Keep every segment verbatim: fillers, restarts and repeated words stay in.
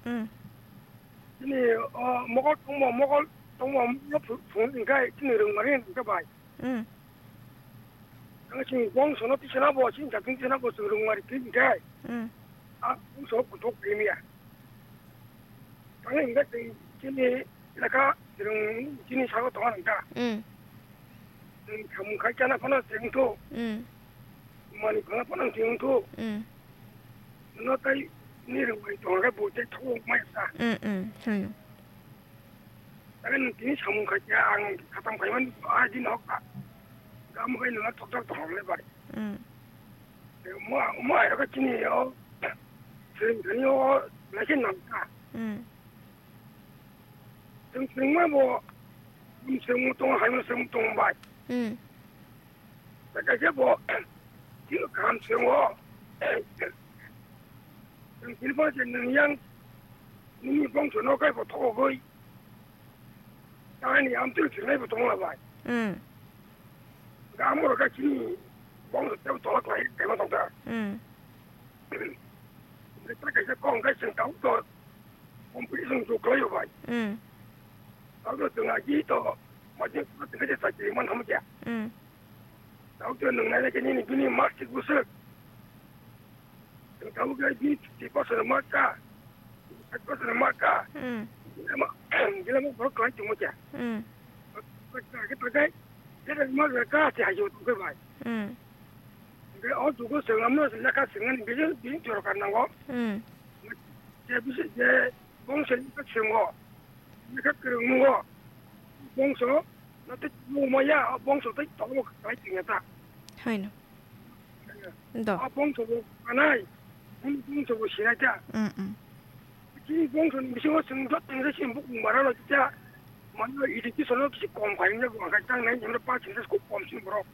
Hmm. Chini, o, mokol tongmo, mokol tongmo, mokol phu-, phung hingkhe chini rwngmani hingkhe bai. Hmm. Ang chini bongsono tisana bo, chini jatin tisana bo chwng rwngmani twi hingkhe. Hmm. A bongso kuthuk limya. Ang hingkhe chini, chini lekha chwng chini sago tongo nang ta. Hmm. Chwng samung khai chana phano chwng thu. Hmm. Mani phano phano chwng thu. Hmm. No tai ni rwngmani tongo khe bo tei thok maya ta. Hmm, hmm, hmm. Tei nwng tini samung khai khe ang khatam khaimani a din hok ta. Gam khai nwng thokthok tong le bai. Hmm. Mo, mo ai ro chini o. Sing thani o lai khe nang ta. Hmm. Sing sing ma bo. Sing mo tong hai mo sing tong bai. Hmm. Tei kaisa bo. Tini kaham sing o. Sing tini bo je nwng yang. Nini bongso no kai bo thok goi. Tani amtwi thwinai bo tongla bai. Hmm. Ga amoro ga chini bongso tebo tolak lai kaima tongta. Hmm. Ita kaisa kong kai sing tau to competition to klaio bai. Hmm. Tau to tunga ji to majin pa tunga je sakiri man hamja. Hmm. Tau to nung nai ke nini bini masik busuk. Tabo khe bini fifty percent mark ka, thirty percent mark ka. Hmm. Gilama, gilama borok kwlai tongmo khe. Hmm. Khe pakai, jera mark ka se hajo tongkhe bai. Hmm. Hingkhe o jugo swnamno lekha swngnani bini, bini jorokar nango. Hmm. Je bisi je bongso lekha swngo, lekha kwrwng nungo, bongso no tei tongmaya, o bongso tei tongmo kwlai tongya ta. Haino. Do. A bongso bo kanai, bini bongso bo sinai ta. Mm, mm. Chini bongso ni bisingo chwng jotoni se chini bukung bara no cha. Mano education no kisi kom khai wngya bo, ang kha tang nai, jemno percentage khub kom chini borok.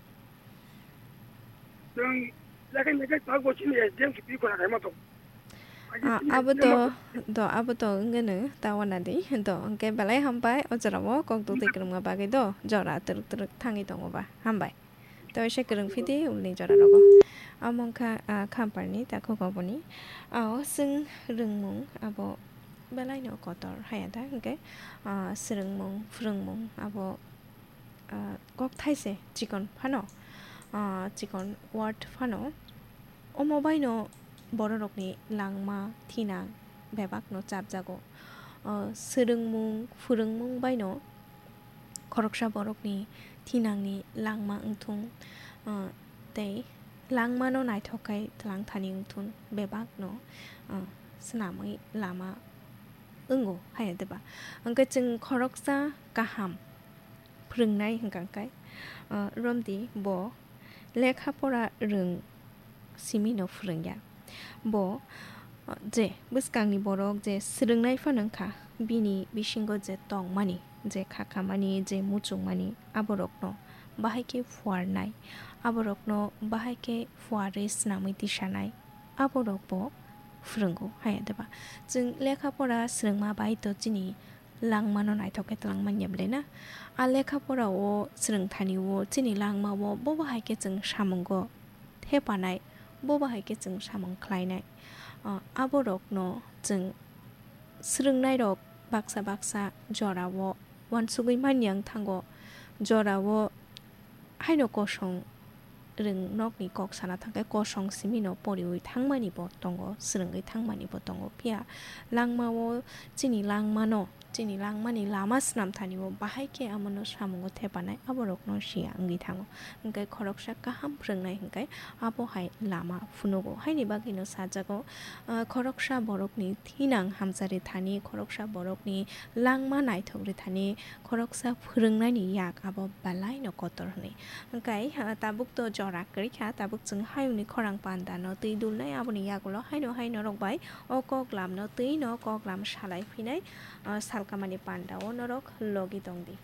Chwng yakhai yakhai ta bo chini S D M kipi kona khai ma tong. Ah, abo to, do, abo to wngeno ta wana di. Do, hwnkhe belai hambai o jorao kok twi kwrwngma bagwi do, jora twrwk twrwk thangwi tongo ba. Hambai. Tei waisa kwrwng phidi ulni jora rogo. Amo wngkha, ah, khamparni takhuk oboni. Ah, o chwng rwngmung abo belaino kotor haya da hwnkhe, ah, swrwngmung, phwrwngmung abo, ah, kok thaise chikon phano, ah, chikon word phano. Omo baino bororokni langma, thinang bebakno chapjago. O swrwngmung, phwrwngmung baino khoroksa borokni thinangni langma wngthung, o, tei langmano naithok khe twlang thani wngthun bebakno, o, swnamwi lama wngo, haya deba? Hwnkhe chwng khoroksa kaham phwrwngnai hwnkha khe, o, romdi bo lekha pora rwng simino phwrwngya. Bo, o, je bwskangni borok je swrwngnai phano wngkha, bini bisingo je tongmani, je khakhamani, je muchungmani, aborokno bahai khe phuarnai, aborokno bahai khe phuarwi swnamwi tisanai, aborok bo phwrwngo, haya deba? Chwng lekha pora swrwngma bai to chini langmano naithok khe twlang manya bwle na? A lekha pora o swrwng thani o chini langma o bobo hai khe chwng samungo thepanai, bobo hai khe chwng samung khlainai. O, aborokno chwng swrwngnairok baksa baksa jorao uansugwi manya wng thango, jorao haino kosong rwng nokni kok sana thangkhe kosong simino poriwi thangmani bo tongo, swrwngwi thangmani bo tongo. Phiya langmao chini langmano, chini langmani lama swnam thani o bahai khe amono samungo thepanai aborokno siya wngwi thango. Hwnkhe khoroksa kaham phwrwngnai hwnkhe abo hai lama phunugo. Haini bagwino sajago, ah, khoroksa borokni thinang hamchari thani, khoroksa borokni langma naithok rithani, khoroksa phwrwngnaini yak abo belaino kotor hwnwi. Hwnkhe, ah, tabuk to jora kwrwi kha, tabuk chwng hayungni khorang panda no twi dulnai, aboni yagulo haino hai norok bai o kok lam no twi no kok lam salai phinai, ah, salkamani panda o norok logi tongdi.